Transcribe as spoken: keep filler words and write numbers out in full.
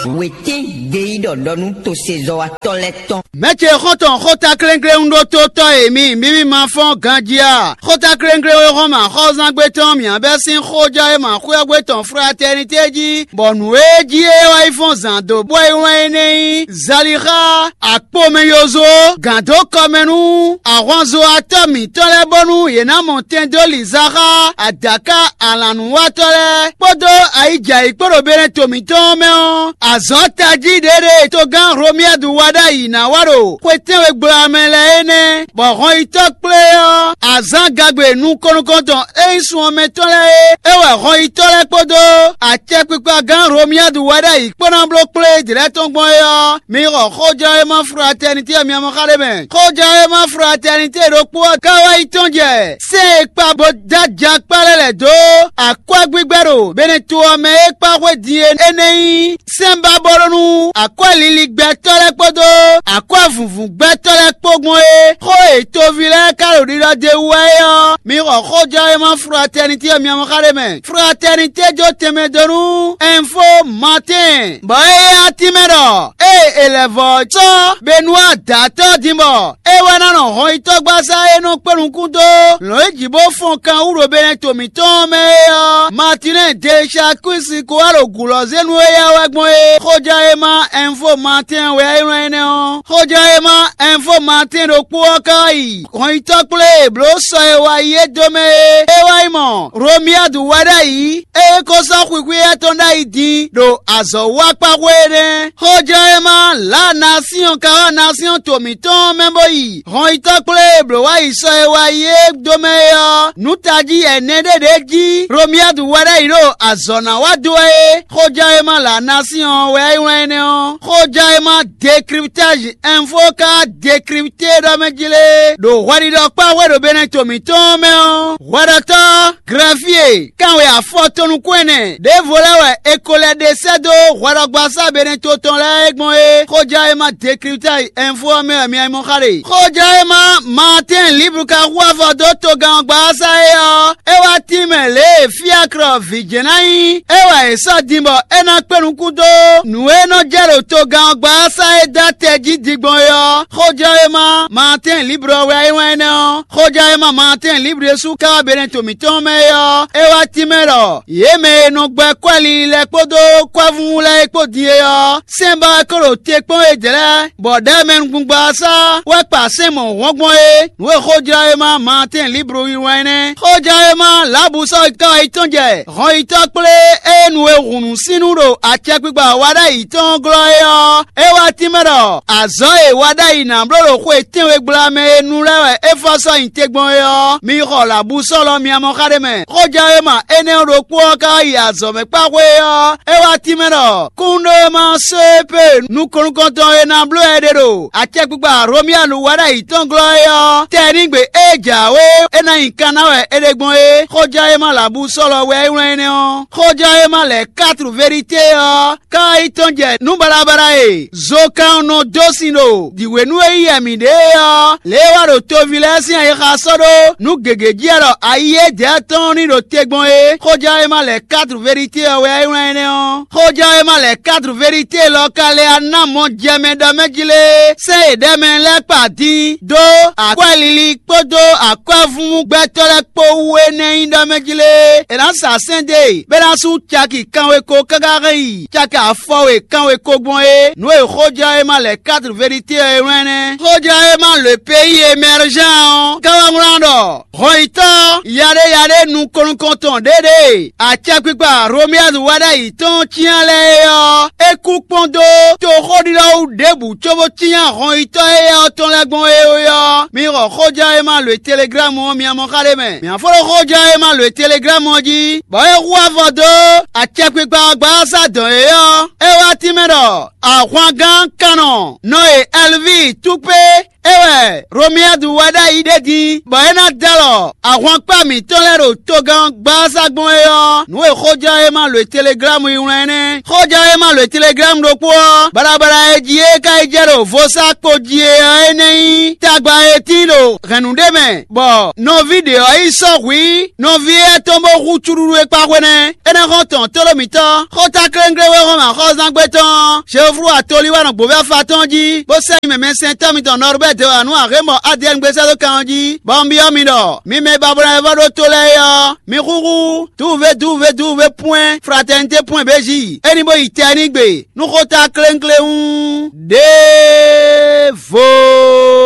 Wětín gbeyíɖɔ ɖɔ nú tosezɔ́watɔ́ lɛ́ɛ tɔn. Mɛ̌ ce xɔ́ntɔn xóta klénglé un ɖótó tɔ́ e mi mǐ mì ma fɔ́n ganjí a? Xóta klénglé e xɔ́n mɛ axɔ́zángbé tɔn mǐ bɛ́ sín xójɔ e ma xwé ɔ́ gbé tɔn fratɛ́nitɛ́ jí, bɔ nǔ e jí é wá yi fɔ́n zǎn dó bɔ é wlán é nɛ́ nyí Zalixa, akpomɛ yozó, gǎn dó kɔmɛ nú ahwanzowatɔ́ mǐtɔn lɛ́ɛ bónú yě ná mɔ tɛn dó lǐnzá xá adǎká alǎnúwatɔ́ lɛ́ɛ kpódó ayǐjǎyǐ kpó ɖo Benɛto mǐtɔn ɔ́ mɛ ɔ́, azɔ̌ tají ɖě ɖe togán Hlomiyadu wa ɖ'ayǐ ná wa ɖo xwe tɛ́nwe gblamɛ lɛ́ɛ é nɛ́, bɔ hɔnyitɔ́ kplé ɔ́, azǎngagbe nukɔn nukɔntɔn e nyí sun ɔ́ mɛ tɔn lɛ́ɛ é, é wɛ hɔnyitɔ́ lɛ́ɛ kpódó acɛkpikpagán Hlomiyadu wa ɖ'ayǐ kpó ná bló kplé yědɛɛ lɛ́ɛ tɔn gbɔn é ɔ́, mi xɔ xójɔ́wéma fratɛnitɛ́ ɔ́ mi ma xá ɖé mɛ. Xójɔ́wéma fratɛnitɛ́ ɖokpó ɔ́ ka wá yi tɔ́n jɛ sɛ́n e kpa bó dó ajakpá lɛ́ɛ lɛ̌ dó akwɛ́gbígbɛ́ ɖo Benɛto ɔ́ mɛ é kpá xwé din é nɛ́ nyí sɛ́nbabɔ́lónú akwɛ́liligbɛtɔ́ lɛ́ɛ kpódó akwɛ́vǔvǔgbɛtɔ́ lɛ́ɛ kpó gbɔn é. Xó e toví lɛ́ɛ ka ɖo ɖiɖɔ d'é wú wɛ é ɔ́, mi xɔ xójɔ́wéma fratɛnitɛ́ ɔ́ mi ma xá ɖé mɛ. Fratɛnitɛ́ jó tɛnmɛ dó nú Ɛnfo Matɛ́n, bɔ é yá tínmɛ ɖɔ ée è lɛ̌ vɔ́ sɔ́ Benuwa dǎtɔ́ din bɔ é wɛ ná nɔ hɔnyitɔ́gbasá e nɔ kpé nukún dó lɔ̌nyijǐ bó fɔn kan wú ɖo Benɛto mǐtɔn ɔ́ mɛ é ɔ́, Matinɛ́ɛ Delicakwísi ko wá ɖo gǔlɔzénu e ya wɛ gbɔn é. Xójɔ́wéma Ɛnfo Matɛ́n wɛ é wlán énɛ́ ɔ́. Xójɔ́wéma Ɛnfo Matɛ́n ɖokpó ɔ́ ka wá yi hɔnyitɔ́ kplé e blǒ sɔ e wá yi é dó mɛ é. É wá yi mɔ Hlomiyadu wɛ ɖ'ayǐ, ée é ko sɔ́ xwixwí étɔn ɖ'ayǐ din ɖo azɔ̌wákpáxwé é nɛ́. Xójɔ́wéma Lǎ Nasíɔn ka wá Nasíɔn to mǐtɔn ɔ́ mɛ bó yi hɔnyitɔ́ kplé e blǒ wá yi sɔ e wá yi é dó mɛ é ɔ́, nǔ tají ɛnɛ ɖé ɖě jí Hlomiyadu wɛ ɖ'ayǐ ɖo azɔ̌ ná wá dó wɛ é. Xójɔ́wéma Lǎ Nasíɔn wɛ é wlán énɛ́ ɔ́. Xójɔ́wéma Dekriptázi Ɛnfo ka wá dekripté ɖɔ mɛ jí lé ɖo hwɛɖiɖɔ kpá hwɛ ɖo Benɛto mǐtɔn ɔ́ mɛ ɔ́, hwɛɖɔtɔ́ Glɛfíe kanwe afɔ tɔn nukún ɛnɛ ɖěvo lɛ́ɛ wɛ è ko lɛ́ ɖe sɛ́ dó hwɛɖɔgbasá Benɛto tɔn lɛ́ɛ é gbɔn é. Xójɔ́wéma Dekriptázi Ɛnfo ɔ́ mɛ wɛ mi mɔ xá ɖe. Xójɔ́wéma Maatɛ́n Liblu ka hu afɔ dó togán ɔ́ gbasá é ɔ́, é wá tín mɛ lě e Fiaklɔ vǐ jɛ́n ná nyí é wɛ è sɔ́ din bɔ é ná kpé nukún dó nǔ e nɔ jɛ ɖo togán ɔ́ gbasá e dó atɛ jí din gbɔn é ɔ́. Xójɔ́wéma Maatɛ́n Liblu ɔ́ wɛ é wlán énɛ́ ɔ́. Xójɔ́wéma Maatɛ́n Liblu ɖésú ka wá Benɛto mǐtɔn mɛ é ɔ́, é wá tínmɛ ɖɔ yě mɛ e nɔ gbɛ́ kwɛ́ lili lɛ́ɛ kpódó kwɛ́vúvú lɛ́ɛ é kpó din é ɔ́, sɛ́n ba wɛ kó ɖo te kpɔ́n yědɛɛ lɛ́ɛ, bɔ ɖɛ̌mɛnugbungba ɔ́ sá wɛ kpa sɛ́n mɔ̌hɔn gbɔn é. Nǔ e xójlɔ́wéma Maatɛ́n Liblu yí wɛn nɛ́. Xójlɔ́wéma Lǎbusɔ́ ka yi tɔ́n jɛ hɔnyitɔ́ kplé e nu e hǔn nú sín nú ɖo acɛkpikpa wa ɖ'ayǐ tɔn glɔ́ é ɔ́, é wá tínmɛ ɖɔ azɔ̌ e wa ɖ'ayǐ ná bló ɖo xwe tɛ́nwe gbla mɛ e nu lɛ́ɛ wɛ é fɔ sɔ́ nyi te gbɔn é ɔ́, mi xɔ lǎbusɔ́ lɔ mi mɔ xá ɖé mɛ. Xójlɔ́wéma énɛ́ ɔ́ ɖokpó ɔ́ ka yi azɔ̌ mɛ kpá xwé é ɔ́, é wá tínmɛ ɖɔ kúnɖóma só e pé nukɔn nukɔntɔn e ná bló ɛ ɖe ɖo acɛkpikpa Romiyanu wa ɖ'ayǐ tɔn glɔ́ é ɔ́, tɛnígbe e jǎwe é ná nyi kan ná wɛ é ɖe gbɔn é. Xójlɔ́wéma lǎbusɔ́ lɔ wɛ é wlán énɛ́ ɔ́. Xójlɔ́wéma lɛ̌ kátru verité ɔ́, ka yi tɔn jɛ nǔ baɖabaɖa e zokannɔ dó sin ɖo jǐhwenu e yí wɛ mǐ ɖe é ɔ́, lě e wá ɖo toví lɛ́ɛ sín ayixa sɔ́ ɖó nǔ gěgé jí wɛ ɖɔ ayi e dɛ̌ tɔn ní ɖo te gbɔn é. Xójlɔ́wéma lɛ̌ kátru verité ɔ́ wɛ é wlán énɛ́ ɔ́. Xójlɔ́wéma lɛ̌ kátru verité lɔ ka lɛ́ ná mɔ jɛ mɛ ɖɔ mɛ jí lé, sɛ́ yě ɖɛ mɛ lɛ́ɛ kpa din dó akwɛ́lili kpódó akwɛ́vúvú gbɛtɔ́ lɛ́ɛ kpó wú é nɛ́ nyí ɖɔ mɛ jí lé. È nǎ sa sɛ́n dó e bó ná sú caki kanwe ko káká hɛn yi caki afɔ we kanwe ko gbɔn é. Nǔ e xójlɔ́wéma lɛ̌ kátru verité ɔ́ é wlán nɛ́. Xójlɔ́wéma le pays émergent ɔ́ ka wá wlán ɖɔ hɔnyitɔ́ yaɖéyaɖé nukɔn nukɔntɔn ɖě ɖe acɛkpikpa Romiyanu wa ɖ'ayǐ tɔn cyán lɛ́ɛ é ɔ́, é kú kpɔ́n dó toxóɖiɖɔwú ɖěbǔ cóbó cyán hɔnyitɔ́ éyɛ́ ɔ́ tɔn lɛ́ɛ gbɔn é ɔ́. Mi xɔ xójlɔ́wéma lǒ e Teleglámu ɔ́ mi mɔ xá ɖé mɛ. Mǐ fó ɖó xójlɔ́wéma lǒ e Teleglámu ɔ́ jí, bɔ é hu avɔ dó acɛkpikpa ɔ́ gbasá dɔn é ɔ́, é wá tínmɛ ɖɔ ahwangán kannɔ nɔ e Ɛlvíi Túpé É wɛ Romiyadu wɛ ɖ'ayǐ ɖé din, bɔ é ná dó alɔ ahwankpá mǐtɔn lɛ́ɛ ɖo togán gbása gbɔn é ɔ́, nǔ e xóján e ma lǒ e Teleglámu yi wlán é nɛ́. Xóján e ma lǒ e Teleglámu ɖokpó ɔ́, baɖabaɖa e jí é ka yi jɛ ɖo vodúnsaxo jí é ɔ́, é nɛ́ nyí tagba e tín ɖo hɛ̌nnu ɖé mɛ, bɔ nɔví ɖě ɔ́ yi sɔ́ hwǐ nɔví éyɛ́ tɔn bó hú cúɖúɖú e kpá xwé nɛ́. Énɛ́ xɔ́n tɔn tóɖó mǐtɔn, xótákléŋglé wé hɔn mɛ axɔ́zángbé tɔn Jeoflu atolí wá nɔ gbǒví afa tɔn jí, bó sɛ́ nyi mɛmɛsɛntɔ́ mitɔn Nɔrbɛ́ɛ dó wá nú Axémɔ Adiyɛ́ɛn gbé sɛ́ dó kan ɔ́ jí, bɔ un byɔ́ mi ɖɔ: mi mɛ e babɔnɔ wɛ vɔ́ ɖó to lɛ́ɛ é ɔ́, mi xúxú duve duve duve pwɛ́n fratɛnité pwɛ́n bějí, é ní bó yi tɛ ní gbe nú xótákléŋglé hú ɖěvo.